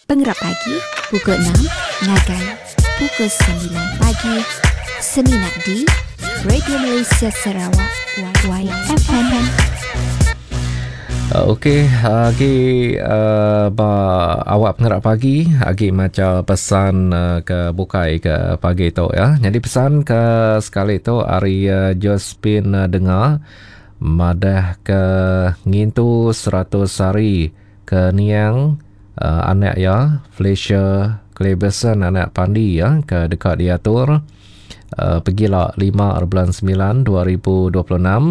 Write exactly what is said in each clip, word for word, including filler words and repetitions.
Pengerap pagi pukul enam ngagai pukul semilan pagi semina di Radio Malaysia Sarawak Y F M. Okey, agi uh, ba awak pengerak pagi, agi maca pesan uh, ke bukai ke pagi tu ya. Jadi pesan ke sekali tu hari uh, Josephine uh, dengar madah ke ngintu seratus hari ke niang uh, anak ya Fletcher Cleverson anak Pandi ya ke dekat diatur uh, pergilah lima bulan sembilan dua ribu dua puluh enam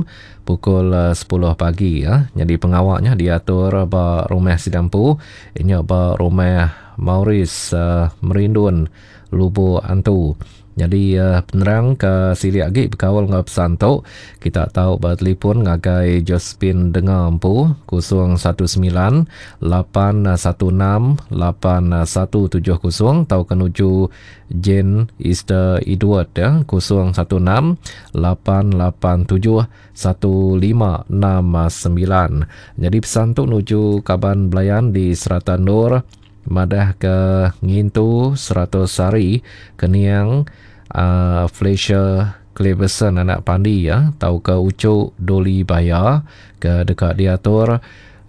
pukul sepuluh pagi ya. Jadi pengawaknya diatur ba rumah Sidampu, inya ba rumah Maurice uh, Merindun Lubuk Antu. Jadi uh, penerang ke silik lagi berkaul dengan pesan tu, kita tahu bertelefon ngagai Josephine Dengar Empu kosong satu sembilan lapan satu enam lapan satu tujuh kosong atau kenuju Jane Easter Edward ya kosong satu enam lapan lapan tujuh satu lima enam sembilan. Jadi pesan tu nuju kaban belayan di Serata Nur madah ke ngintu seratus hari keniang uh, Fletcher Cleverson anak Pandi ya tau ke Ucuk Doli Baya ke dekat diatur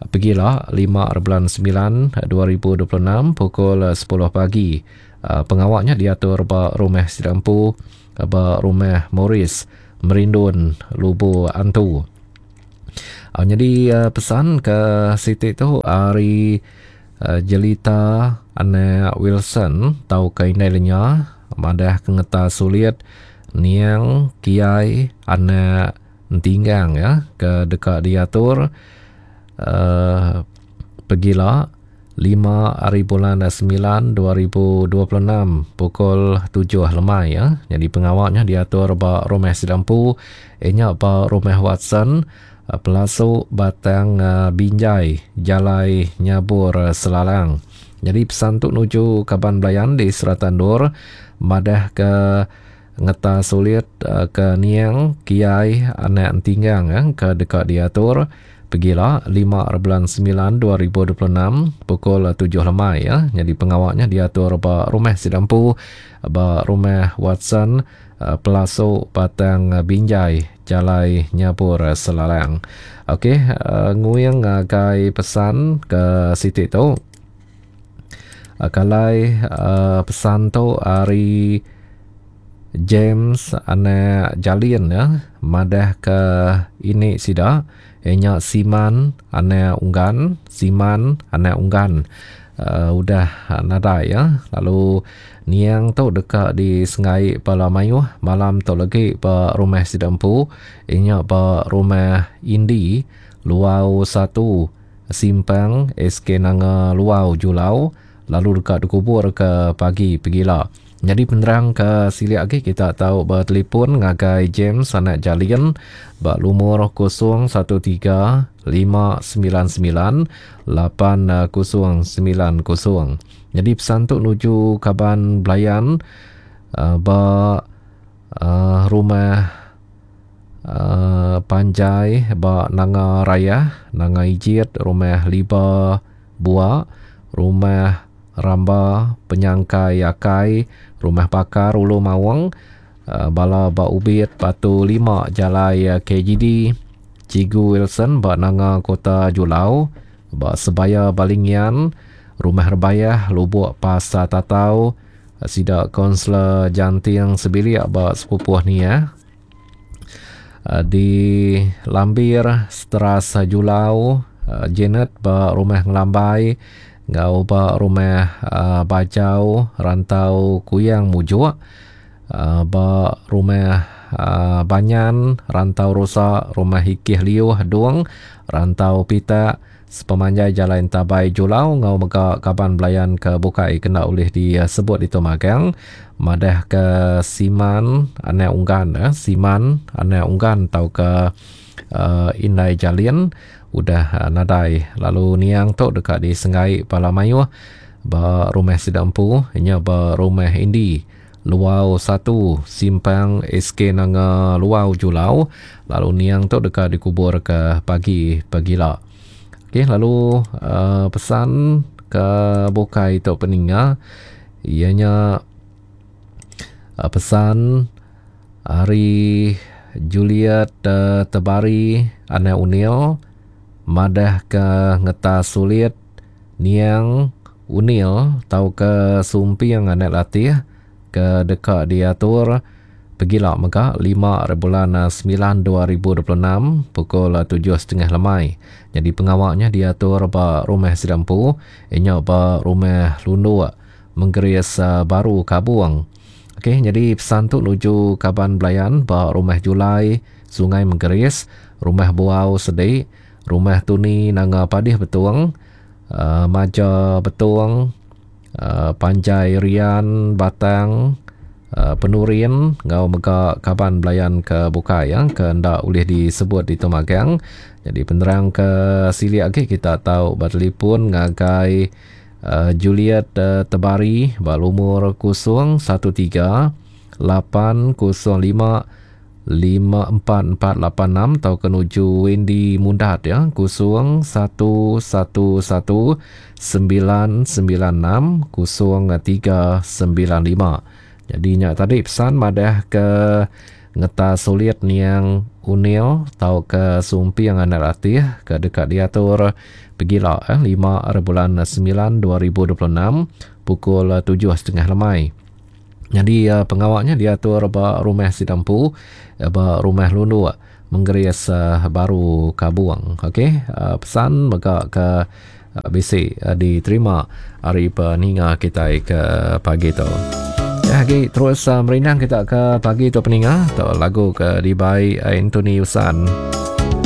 pergilah lima bulan sembilan dua ribu dua puluh enam pukul sepuluh pagi. Uh, pengawaknya diatur ba rumah Sidampu ba rumah Maurice Merindun Lubuk Antu. Uh, jadi uh, pesan ke Siti tu hari Uh, Jelita anak Wilson tau ke indai lenya madah ke ngeta sulit niang kiai anak entinggang ya ke dekat diatur uh, pergilah lima hari bulan sembilan dua ribu dua puluh enam pukul tujuh lemai ya. Jadi pengawaknya diatur ba rumah Sidampu inya ba rumah Watson Pelasuk Batang Binjai Jalai Nyabur Selalang. Jadi pesan tu nuju kaban belayan di Serata Nur madah ke ngeta sulit ke niang kiai anak entinggang ya, ke dekat diatur pergilah lima bulan sembilan dua ribu dua puluh enam pukul tujuh lemai ya. Jadi pengawaknya diatur ba rumah Sidampu ba rumah Watson Pelasuk Batang Binjai Jalai Nyabur Selalang. Okey, uh, nguing ngagai pesan ke Siti tu. Uh, kalai uh, pesan tu hari James anak Jalin ya, madah ke ini sida inya Siman anak Unggan, Siman anak Unggan. Uh, udah nadai ya. Lalu niang tu dekat di Sengai Pala Mayuh malam tu lagi ba rumah Sidampu inya ba rumah Indi Luau satu Simpang S K Nanga Luau Julau lalu dekat dikubur ke pagi pegila. Jadi penerang ke silik lagi kita tahu bertelefon ngagai James anak Jalin ba lumur kosong satu tiga lima sembilan sembilan lapan kosong sembilan kosong. Jadi pesan tu nuju kaban belayan uh, ba uh, rumah uh, Panjai ba Nanga Raya, Nanga Ijit, rumah Liba Bua, rumah Ramba Penyangkai Akai, rumah Pakar Ulu Mawang, uh, bala ba Ubit Batu lima Jalai K G D, Cigu Wilson ba Nanga Kota Julau, ba Sebaya Balingian, rumah Rebayah Lubuk Pasar Tatau, sida Konselor Janting Sebilik ba Sepupuh ni ya. Di Lambir Seteras Julau, Janet ba rumah Ngelambai, ngau ba rumah uh, Bajau Rantau Kuyang Mujuk, uh, ba rumah uh, Banyan Rantau Rosa, rumah Hikih Liuh Dung Rantau Pitak sepemanjai Jalan Tabai Julau ngau mega kaban belayan ke bukai kena oleh disebut itu magang madah ke Siman anak Unggan eh, Siman anak Unggan tau ke uh, Indai Jalin udah uh, nadai. Lalu niang tu dekat di Sengai Pala Mayuh ba rumah Sidampu inya ba rumah Indi Luau satu Simpang S K Nanga Luau Julau. Lalu niang tu dekat dikubur ke pagi pagila. Okey, lalu uh, pesan ke bukai tu peninga iya nya pesan ari Juliet Tebari anak Unil madah ke ngetas sulit niang Unil tauka Sumping anak Latih ke deka diatur pegila mega lima bulan semilan dua ribu dua puluh enam pukul tujuh setengah lemai. Jadi pengawaknya diatur ba rumah Sidampu, inya ba rumah Lunduk Menggeris Baru Kabung. Okey, jadi pesan tu nuju kaban belayan ba rumah Julai Sungai Menggeris, rumah Buau Sedik, rumah Tuni Nanga Padih Betung, uh, Maja Betung, uh, Panjai Rian Batang, Uh, Penurin ngau mega kaban belayan ke bukai ya, ke ndak boleh disebut di Tumagang. Jadi penerang ke silik lagi kita tahu bertelefon ngagai uh, Juliet uh, Tebari ba lumur kosong satu tiga lapan kosong lima lima empat empat lapan enam atau ke nuju Wendy Mundat ya kosong satu satu satu sembilan sembilan enam kosong tiga sembilan lima. Jadi nyak tadi pesan madah ke ngeta sulit niang Unil tau ke Sumping anak Latih ke dekat diatur pegila eh, lima bulan sembilan dua ribu dua puluh enam pukul tujuh setengah lemai. Jadi uh, pengawaknya diatur ba rumah Sidampu, ba rumah Lunduk Menggeris uh, Baru Kabuang. Okey, uh, pesan mega ke uh, bisi uh, diterima hari peninga kita ke pagi tu. Ya, lagi terus uh, merindang kita ke pagi tu peninga tu lagu ke dibai Anthony Usan.